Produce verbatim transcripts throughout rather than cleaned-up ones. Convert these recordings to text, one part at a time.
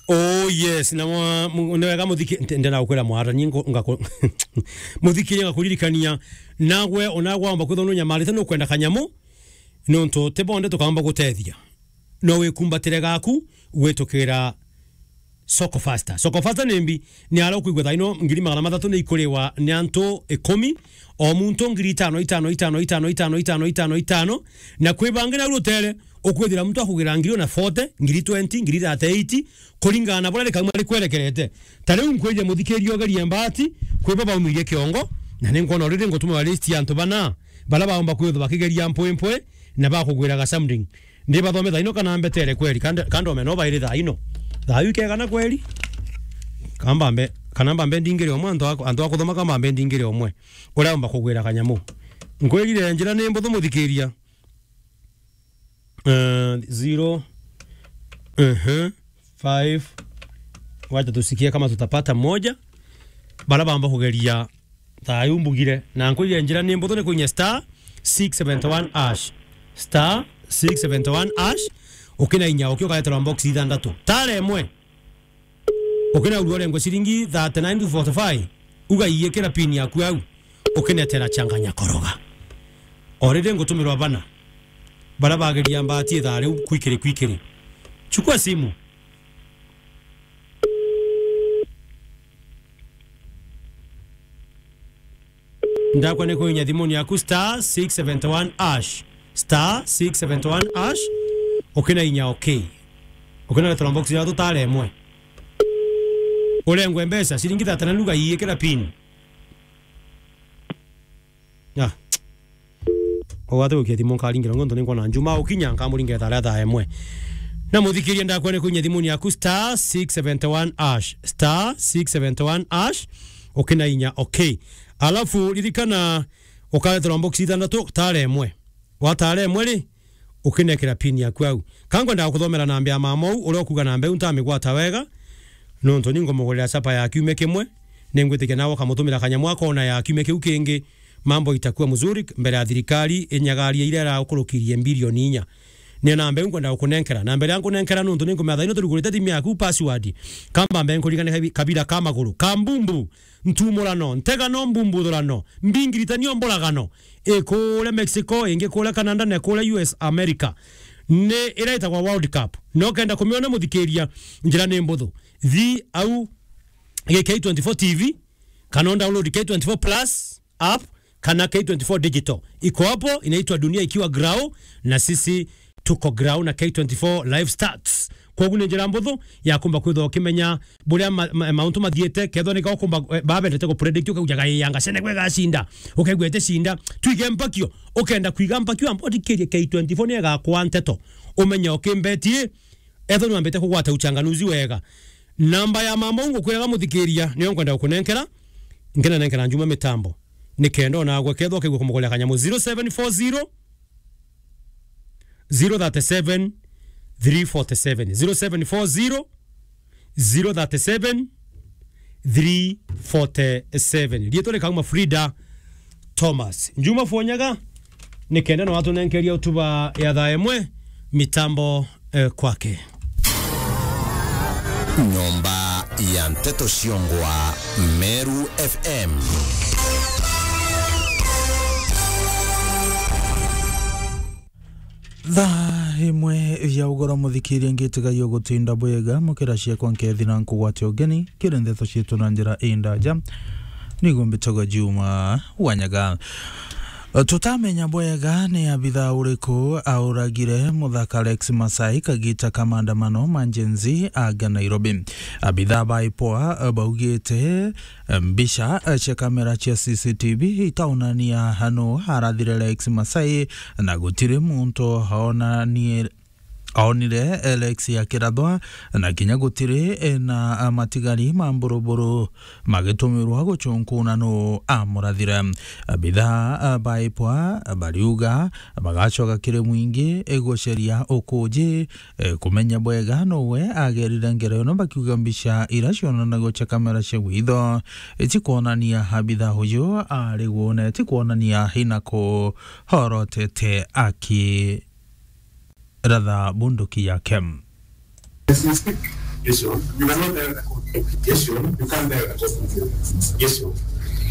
Oh yes, na mwa-, mu-, ni wega muthiki-, nte-, ndenda gukwira mwathani, ngo-, ngako-, muthikiria ngakuririkania, nagwe onagwa omba kwithwa nunyamarite nukwenda kanyamu, nontu ti bonde tukamba gutethia. No wikumbatire gaku gwitukira Soko Faster. Soko Faster ni mbi, ni ara ukwigua thaino ngiri magana mathatu ni ikuriwa ni antu ikumi, o muntu ngiri itano, itano, itano, na kwi bangi na rutere, ukwithira muntu akugira ngiri ona forty, ngiri twenty, ngiri thirty-eight, kuringana na buria rikauma rikwerekerete. Ta riu nkwithia muthikiria ugerie mbati, kwi bo baumirie kiongo, na ni nkwona already ngutuma list ya antu bana, bara baumba kwithwa bakigeria mpwimpwi, na bakugwiraga something. Ndi bathome thaino kana mbetere kweri, kande-, kande omena ubairi thaino. Thayu ikegana kweri? Kamba mbe, kana mbambe ndingire omwe, antu aku-, antu akuthoma kamba mbe ndingire omwe. Uria umba kugwira kanyamu. Nkwirire njira ni mbuthu muthikiria. Eh, zero, ehe, five. Wacha tusikie kama tutapata moja. Bara bamba kugeria thayu mbugire. Na nkwirire njira ni mbuthu ni kuinya star six seventy one hash. Star six seventy one hash. Ukina inya, uki ukaeterwa box ithanthatu. Tara imwe. Ukina urua urengwe ciringi thirty-nine to forty-five. Ugaiikira pin yaku au. Ukinetera changanya koroga. Already ngutumirwa bana. Bara bageria mbati ithaa riu kwikiri kwikiri. Chukua simu. Ndakwa ni kuinya thimuni yaku star six seventy one hash. Star six seventy one hash. Ukina inya okay. Ukina letra box ya tutare imwe. Urengwe mbeca, ciringi thirty-nine ugaiikira pin. Ah. Ugate gukia thimu nkaringira ngonto ni nkwona Njuma ukinya nkamuringira thaa thaa imwe. Na muthikiria ndakwa ni kuinya thimuni yaku star six seventy one hash. Star six seventy one hash. Ukina inya, okay. Alafu ririkana ukareterwa box ithanthatu, tara imwe. Watara imwe ri, ukinekera pin yaku au. Ka ngwenda gukuthomera namba ya mama uu, uria ukuga namba iu ntamigwata wega, nontu ni ngumugurira chapa ya kiumia kimwe, ni ngwitikia nawe ukamutumira kanyamu akona ya kiumia kiu kingi, mambo itakuwa mzuri mbere ya thirikari inyagaria iria iraukurukirie mbirioni inya. Ni namba iu nkwenda gukunenkera. Namba iria nkunenkera nontu ni nkumenya thaino turugurite thimu yaku password. Kamba mbe nkurigane kabi-, kabira ka maguru, ka mbumbu. Ntumurano, ntegano, mbumbuthurano, mbingiritanio, mburagano, ikuria Mexico, ingi kuria Canada, na kuria U S America. Ni ira itagwa World Cup. No kenda kumiona muthikiria, njira ni mbuthu. Thi au K twenty-four T V, kana download K twenty-four Plus app, kana K twenty-four Digital. Iko hapo, inaitwa Dunia Ikiwa Grau, na sisi tuko grau na K twenty-four Live Stats. Kwogu ni njira mbuthu ya kumba kwithwa ukimenya buria ma-, ma-, mauntu mathiite, kethwa ni ka ukumba, eh, babendete ku predict, ukaujaga, "Ii, anga Senegal igacinda." Ukaigua iticinda. Twige mpakio. Ukenda kwiga mpakio, amba uthikirie K twenty-four ni egakwa nteto. Umenye ukimbeti, ethwa ni wambite kugwata uchanganuzi wega. Namba ya mama ungu kwiraga muthikiria, niyo nkwenda gukunenkera. Nkinanenkera Njuma mitambo. Ni kenda onagwe kethwa ukaigua kumugoria kanyamu zero seven four zero, zero thirty-seven, three forty-seven. Zero seven four zero, zero thirty-seven, three forty-seven. Riitwa rikauma Frida Thomas. Njuma Fonyaga, ni kenda no atunenkeria utuba ya thaa imwe, mitambo, eh, kwake. Nyomba ya nteto ciongwa Meru F M. Thaa imwe ya ugoro, muthikiria, ngitiga yo gutinda bwega, mukira ciakwa nkethi na nkugwate ugeni kiri ndeto cietu na njira indaja. Nigo mbitagwa Juma Wanyaga. Tutamenya bwega ni abitha uriku auragire muthaka Alex Masai kagita ka maandamano ma Gen Z aga Nairobi. Abitha ba IPOA baugite mbica cia kamera cia C C T V itaonania nu arathire Alex Masai, na gutiri muntu aonanie aonire Alex akirathwa, na kinya gutiri na matigari ma mburuburu magitumirwa gucunkuna nu amurathire. Abitha ba IPOA bariuga bagacoka kiri mwingi guceria ukuji, kumenya bwega nuwe agerire ngero ino, bakiuga mbica ira cionanagua cia kamera cia witho itikwonania abitha uyu ari gwone, itikwonania ina ku horotete aki ratha bunduki yake. As we speak, Yes, sir. You cannot direct the court. Yes, sir. You can't direct the court. Yes, sir.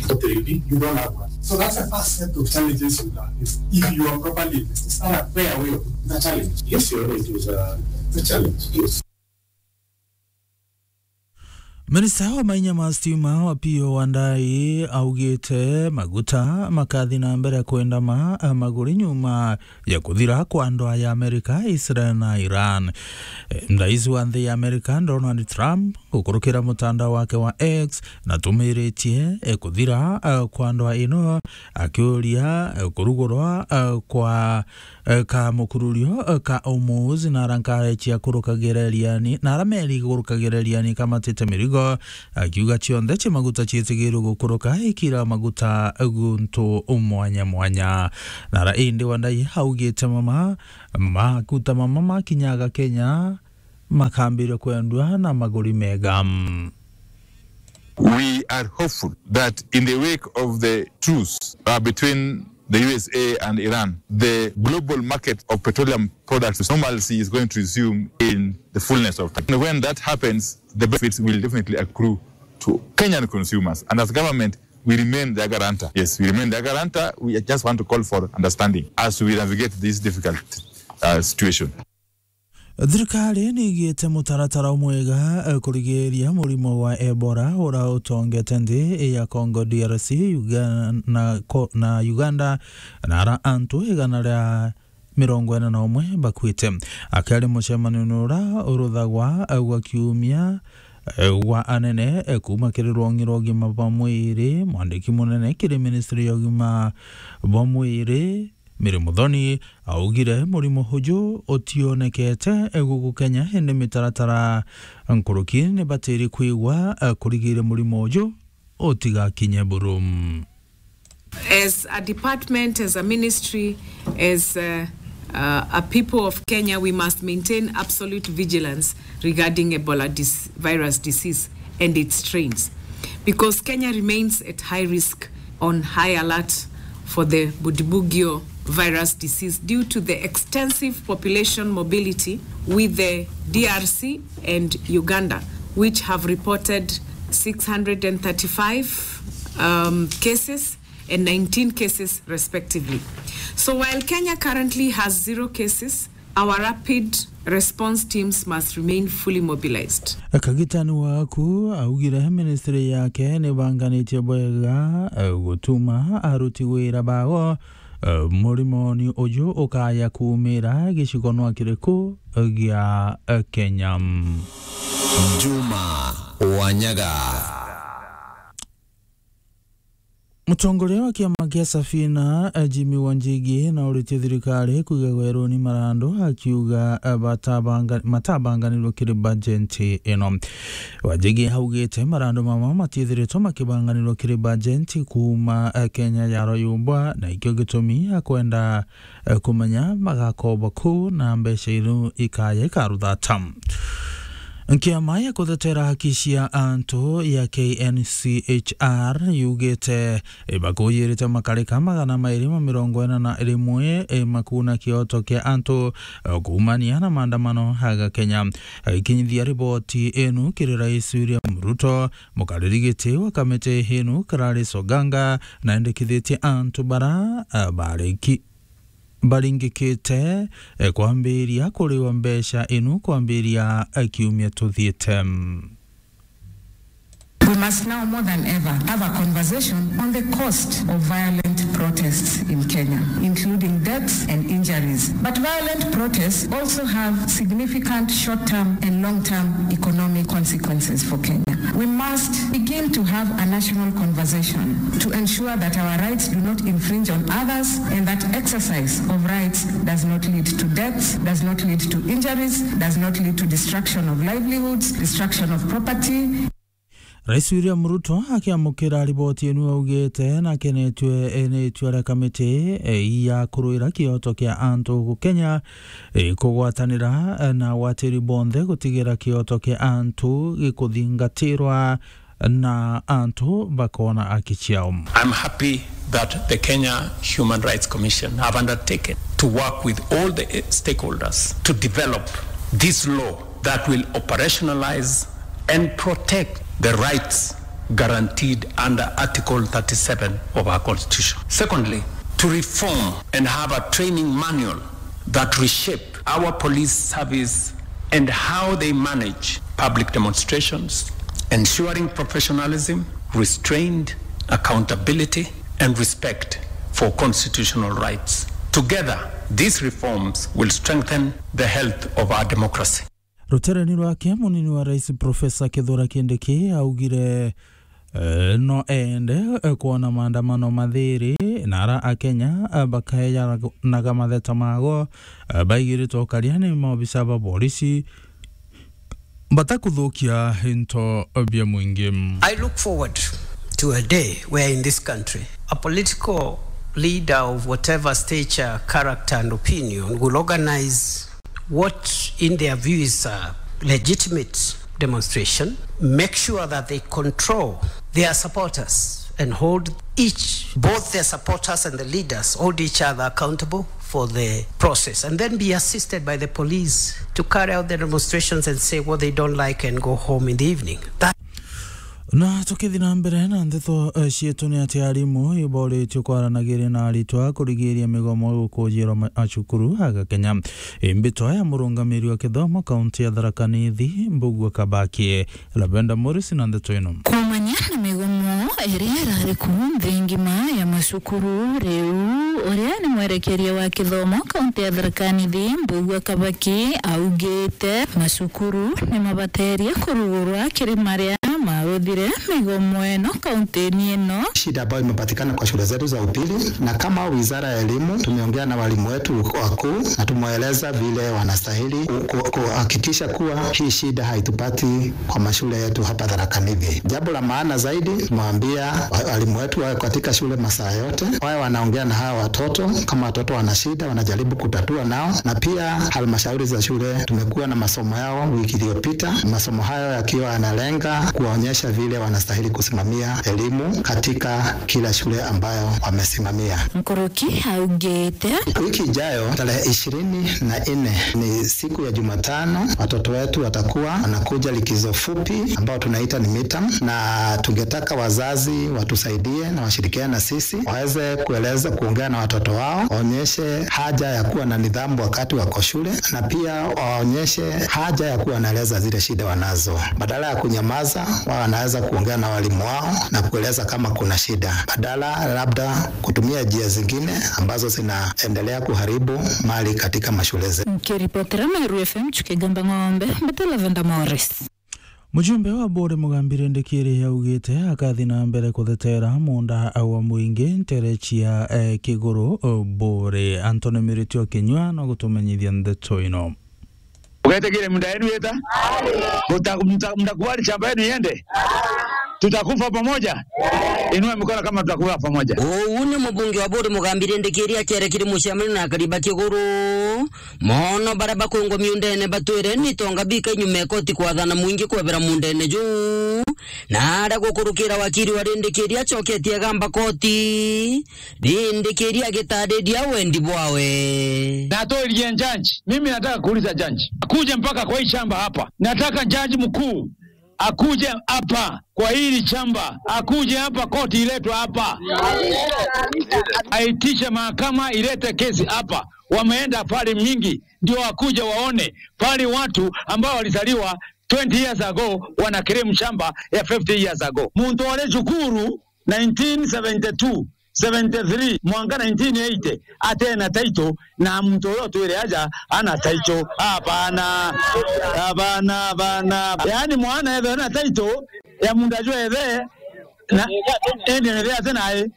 But you don't have one. So that's the first set of challenges you have. If, if you are properly invested, stand up, play away the challenge. Yes, sir. It is a, a challenge. Yes. Minista wa mainya ma stima Opiyo Wandayi augite maguta makathi na mbere kwendama maguri nyuma ya kuthira kwa ndwaa ya Amerika, Israel na Iran. Eh, rais wa nthi ya Amerika, Donald Trump, gukurukira mutandao wake wa X, natumiritie, eh, kuthira, eh, kwa ndwaa ino, akiuria, eh, kurugurwa, eh, kwa, eh, ka mukururio, eh, ka Hormuz, na ara nkari cia kurukagira iriani, na ara meri igurukagira iriani ikamatite mirigo, akiuga cionthe cia maguta ciitigirwe gukuruka ikira maguta guntu mwanya mwanya. Na ara indi Wandayi augite mama, maguta mama makinyaga Kenya, makambire kwendwa na maguri mega. We are hopeful that in the wake of the truce, uh, between the U S A and Iran, the global market of petroleum products normalcy is going to resume in the fullness of time. When that happens, the benefits will definitely accrue to Kenyan consumers. And as government, we remain their guarantor. Yes, we remain their guarantor. We just want to call for understanding as we navigate this difficult, uh, situation. Thirikari ni igite mutaratara umwega, eh, kurigiria murimo wa Ebola ura utongete nthi ya Congo D R C, Uga-, na ko-, na Uganda, na ara antu igana ria mirongo ina na umwe bakuite. Akiaria mucemanio ura uruthagwa, eh, gwa kiumia, eh, gwa anene, eh, kuuma kiri rwongi rwa ugima bwa mwiri, mwandiki munene kiri ministry ya ugima bwa mwiri, Mary Muthoni, augire murimo uju utionekete guku Kenya, indi mitaratara nkuruki ni batiri kwigwa, eh, kurigiria murimo uju utigakinye buru. As a department, as a ministry, as, uh, uh, a people of Kenya, we must maintain absolute vigilance regarding Ebola dis-, virus disease and its strains, because Kenya remains at high risk on high alert for the Bundibugyo virus disease due to the extensive population mobility with the D R C and Uganda, which have reported six hundred and thirty-five, um, cases and nineteen cases respectively. So while Kenya currently has zero cases, our rapid response teams must remain fully mobilized. Kagitani waku augire ministry yake nibanganitie bwega, eh, gutuma aruti wira bao, eh, murimoni uju ukaya kuumira gicigonwa kiriku gia, eh, Kenya. Juma Wanyaga. Mutongoria wa kiama kia Safina, eh, Jimmy Wanjigi, na uritie thirikari kuiga gweruni marandu, akiuga, eh, batabanga-, matabanganirwe kiri bajenti ino. Wanjigi augite marandu mama matiithiritwe makibanganirwa kiri bajenti kuuma, eh, Kenya yarwa yumbwa, na ikio gitumi akwenda eh, kumenya magakoba ku na mbeca iru ikaya ikaruthata. Nkiama ya kuthetera haki cia antu ya K N C H R yugite, eh, bakuyirite makarika magana mairi ma mirongo ina na rimwe, eh, makuna kioto kia antu, eh, kuumania na maandamano aga Kenya. Akinyithia riboti inu kiri Rais William Ruto, mukariri giti wa kamiti inu Gladys Oganga naendekithitie antu bara, eh, bariki-, baringikite, eh, kwambiria kuriwa mbeca inu kwambiria, eh, kiumia tuthiite. We must now more than ever have a conversation on the cost of violent protests in Kenya, including deaths and injuries. But violent protests also have significant short-term and long-term economic consequences for Kenya. We must begin to have a national conversation to ensure that our rights do not infringe on others and that exercise of rights does not lead to deaths, does not lead to injuries, does not lead to destruction of livelihoods, destruction of property. Rais William Ruto akiamukira riboti inu augite nakenetue ni itua ria kamiti, eh, ya kuruira kioto kia antu guku Kenya, eh, kugwatanira, eh, na agwatiri bonthe gutigira kioto kia antu gikuthingatirwa na antu bakona haki ciao. I'm happy that the Kenya Human Rights Commission have undertaken to work with all the, eh, stakeholders to develop this law that will operationalize and protect the rights guaranteed under Article thirty-seven of our Constitution. Secondly, to reform and have a training manual that reshape our police service and how they manage public demonstrations, ensuring professionalism, restraint, accountability, and respect for constitutional rights. Together, these reforms will strengthen the health of our democracy. Rutereni rwake, munini wa rais Profesa Kithure Kindiki augire, eh, no ende, eh, kwona maandamano mathiri na ara Akenya, eh, bakayanaga matheta mago, eh, baigiritwe ukaria ni maobisa ba borisi batakuthukia into bia mwingi. I look forward to a day where in this country a political leader of whatever stature, character and opinion will organize what in their view is a legitimate demonstration, make sure that they control their supporters and hold each, both their supporters and the leaders, hold each other accountable for the process, and then be assisted by the police to carry out the demonstrations and say what they don't like and go home in the evening. That Na tukithi na mbere na ndeto, eh, cietu, ni ati arimu iboritio kwaranagiria na aritwa kurigiria migomo gukujirwa ma-, macukuru aga Kenya. Imbitwa ya murungamiri wa kithomo kaunti ya Tharaka Nithi, Mbugua Kabaki, Lavenda Morris na ndeto ino. Kuumania na migomo iria irari ku nthi ngima ya macukuru riu, uria ni mwerekeria wa kithomo kaunti ya Tharaka Nithi, Mbugua Kabaki, augite macukuru ni mabaterie kurugurwa kiri maria maruthire migomo ino kaunti-ini ino. Shida ambayo imepatikana kwa shule zetu za upili, na kama wizara ya elimu tumeongea na walimu wetu wakuu na tumewaeleza vile wanastahili ku-, ku-, kuhakikisha kuwa hii shida haitupati kwa mashule yetu hapa Tharaka Nithi. Jambo la maana zaidi, tumewaambia wa-, walimu wetu wawe katika shule masaa yote, wawe wanaongea na hawa watoto. Kama watoto wana shida, wanajaribu kutatua nao, na pia halmashauri za shule tumekuwa na masomo yao wiki iliyopita, masomo hayo yakiwa yanalenga kuwaonyesha vile wanastahili kusimamia elimu katika kila shule ambayo wamesimamia. Nkuruki augite. Wiki ijayo, tarehe ishirini na nne, ni siku ya Jumatano, watoto wetu watakuwa wanakuja likizo fupi ambao tunaita ni midterm, na tungetaka wazazi watusaidie na washirikiane na sisi, waweze kueleza, kuongea na watoto wao, waonyeshe haja ya kuwa na nidhamu wakati wako shule, na pia waonyeshe haja ya kuwa wanaeleza zile shida wanazo. Badala ya kunyamaza, wao wanaweza kuongea na walimu wao na kueleza kama kuna shida, badala labda kutumia njia zingine ambazo zinaendelea kuharibu mali katika mashule zetu. Nkiripotera Meru F M, Chuki Gamba Ng'ombe, mbete Lavenda Morris. Mujumbe wa Bore Mugambi Rindikiri augite akathi na mbere kuthetera munda wa mwingi ntere cia, eh, Kiguru, eh, Bore. Anthony Miriti wa Kinyua no gutumenyithia ndeto ino. Ugetegere munda yenu yeta? Muta-, muta-, mtakubali shamba yenu iende? Tutakufa pamoja? Inua mikono kama tutakufa pamoja. Uu ni mubunge wa Bore Mugambi Rindikiri akiaria kiri mucemanio na akari ba Kiguru. Mono baria bakwingwa miundene batwire ni tonga bika inyuma ya koti kwathana mwingi kwebera mundene juu, na aria gukurukira wakiri wa Rindikiri acoketie agamba koti, Rindikiri agitariria wendi bwawe. Natolirie judge, mimi nataka kuuliza judge, akuje mpaka kwa hii shamba hapa. Nataka judge mkuu akuje hapa kwa hili shamba, akuje hapa, koti iletwe hapa, aitishe mahakama ilete kesi hapa. Wameenda pale mingi, ndio wakuje waone pale watu ambao walizaliwa twenty years ago wana claim shamba ya fifty years ago. Muntu ore cukuru nineteen seventy-two, seventy-three, mwanka nineteen eighty, atena title, na muntu uria utwire aja ana title. Hapana. Hapana, hapana. Yaani mwana ethe na title ya munda jwethe, na indi ni ria tena ai.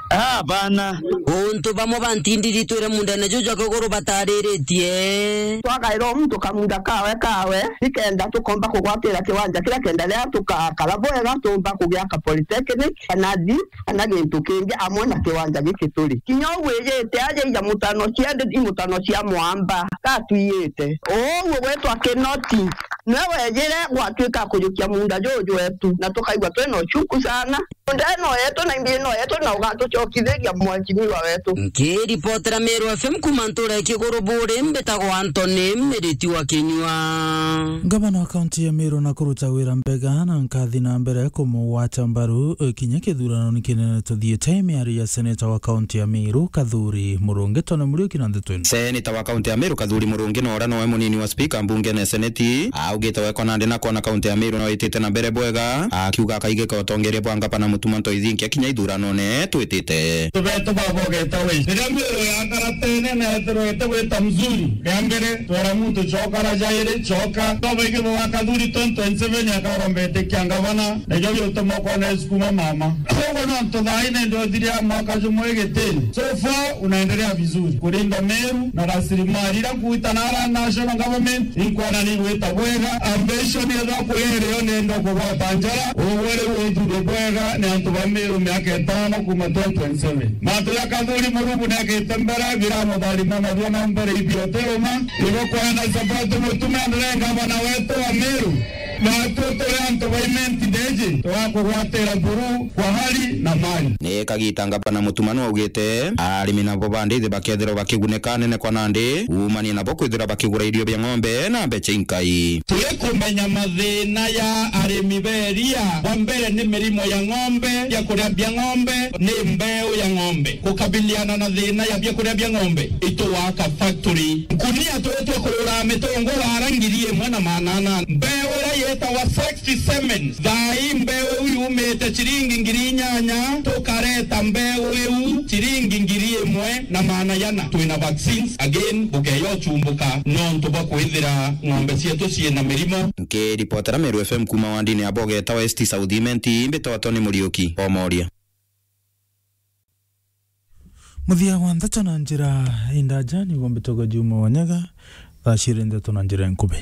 Hapana. Untu bamwe ba ntindiri twire mundene juju jwa Kiguru batariritie. Twagaira o muntu kamunda kawe kawe, nikenda tukomba kugwatira kiwanja kiria kenda riria tukakara bwega, tumba kugiaka polytechnic, kana deep, kana gintu kingi amwe na kiwanja giki turi. Kinya uu wijite aja ija mutano cia ndi, i mutano cia mwamba, gatwiyite. Uu gwitwa Kinoti, nwe wejire gwatuika kujukia munda juju wetu, na tukaigua twina uchuku sana. Nda no yetu na imbi no yetu, na ugatucokithiria mwanki niwa wetu. Nkiripotera Meru F M kuma ntura ya Kiguru Buri, mbitagwa Anthony Miriti wa Kinyua. Ngavana wa kaunti ya Meru na kuruta wira mbega na nkathi na mbere kumugwata mbaru, eh, kinya kithurano ni kinene tuthiite. Miario ya seneta wa kaunti ya Meru, Kathuri Murungi, Tony Muriuki na ndeto ino. Seneta wa kaunti ya Meru, Kathuri Murungi, na uria nowe munini wa spika mbungene ya seneti, augite wekwa nandi na kwona kaunti ya Meru no itite na mbere bwega, akiuga akaigika utongeria bwa ngavana Mutuma Ntoithinkia kinya ithuranone twitite. Tubetu babogeta we. Riria Meru yakara tene na ethirwa ite gwita mzuri, ria mbere, twera muntu coka, ra jairi coka. Tobaigithwa wa Kathuri twenty twenty-seven akarombete kia ngavana, na ijo biutuma ukona isukuma mama. Koguo no ntuthaine ndio thiria mwaka jumwe gitini. So far, unaendelea vizuri. Kurinda Meru na rasilimali ira nkuita na ara national government, inkwona ni igwita bwega. Ambition yethwa kuri irio ni ndo kugwata njara, ugwe riu uthure bwega ni antu ba Meru miaka itano kuma twenty twenty-seven. Mantu ja Kathuri Murungi ni agite mbere, biramutharima na biona mbere ibioteruma. Igo kwenda support Mutuma endelee ngavana wetu wa Meru. Natwe turi antu ba Imenti Ndeji, twakugwatira buru kwa hali na mali. Ni kagita ngavana Mutuma nwaugite arimi nabo bandithi bakethirwa bakigunika nene kwa nandi, umanie nabo kwithirwa bakigura irio bia ng'ombe na mbecha inkai. Turikumenya mathina ya arimi beria. Wa mbere ni mirimo ya ng'ombe, biakuria bia ng'ombe, ni mbeu ya ng'ombe. Kukabiliana na thina ya biakuria bia ng'ombe, itugwaka factory. Nkunia turia twakurura mitungura ara ngiri imwe na maana ana. Mbeu iria yetawa sixty semen. Thaa ii mbeu iu yumite ciringi ngiri inyanya, tukareta mbeu iu ciringi ngiri imwe na maana yana. Twina vaccines, again, bukeya uchumbuka nontu bwa kwithira ng'ombe cietu ciina mirimo. Nkiripotera Meru F M kuma wandini ya Bogeta West South Imenti, mbitagwa Tony Muriuki, Omoria. Muthia wa ndeto na njira indaja niguo mbitagwa Juma Wanyaga, thaa ciiri ndeto na njira nkubi.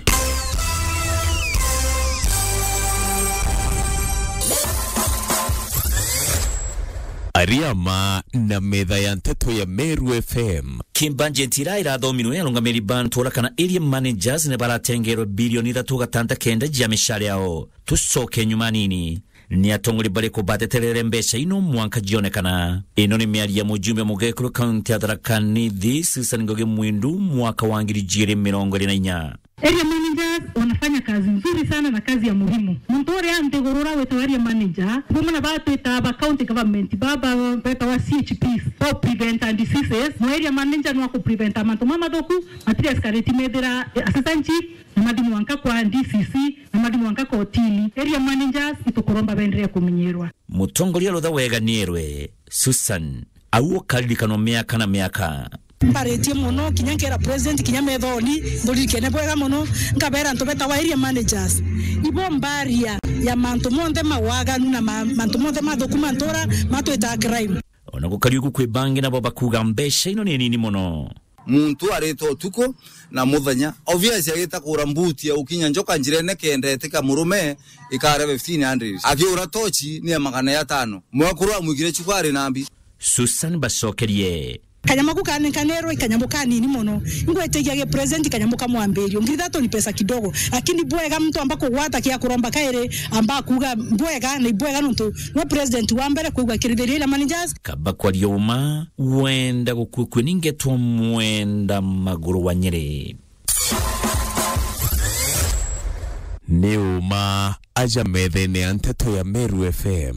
Ariama na metha ya nteto ya Meru F M. Ki budget ira irathomirwe, arungamiri ba ntura kana area managers ni baratengerwe bilioni ithatu gatanta kenda ja mishara yao. Tucoke nyuma nini. Ni atongori bariku bateterere mbeca ino mwanka jionekana? Ino ni miario ya mujumbe mugekuru kaunti ya Tharaka Nithi, Susan Ngugi Mwindu, mwaka wa ngiri ijiri mirongo iri na inya. Area managers wanafanya kazi nzuri sana na kazi ya muhimu. Muntu uria nthiguru uria witawa area manager, bamwe na batwita ba county government, baba betawa C H Ps, for prevent and diseases, no area manager no aku prevent mantu mamathuku, matiri escalate methira assistant chief, na mathi mwanka kwa D C C, na mathi mwanka kotini. Area managers itukuromba benderee kumenyerwa. Mutongoria rutha wega nierwe, Susan, au ukaririkanwa miaka na miaka. Mbaritie mono, kinya nkera president, kinya methoni, mburirikene bwega mono, nkabera antu betawa area managers. Ibo mbaria ya mantu monthe mawaganu na ma-, mantu monthe mathuku ma ntura matwitaga crime. Ona gukari ugu kwi bangi nabo bakuga mbeca ino ni nini mono. Muntu aritwa utuku na muthenya. Obvious agita kura mbuti ya ukinya njoka njirene kenda etika murume ikare fifteen hundred. Akiura tochi ni ya magana ya tano. Mwekuru amwikire chuku ari na mbi. Susan bacokerie. Kanyamu ku kanekanirwe ikanyamu kanini mono. Ngwetigia gi present kanyamu ka mwambirio. Ngiri thatu ni pesa kidogo. Lakini bwega mtu amba kugwata kia kuromba kairi, amba kuga bwega, ni bwega nontu no president wa mbere kwigua kirithirio ira managers. Kaba kwaria uma, wenda gukukue ni ngetwa mwenda maguru wa Nyeri. Ni uma aja methene ya nteto ya Meru F M.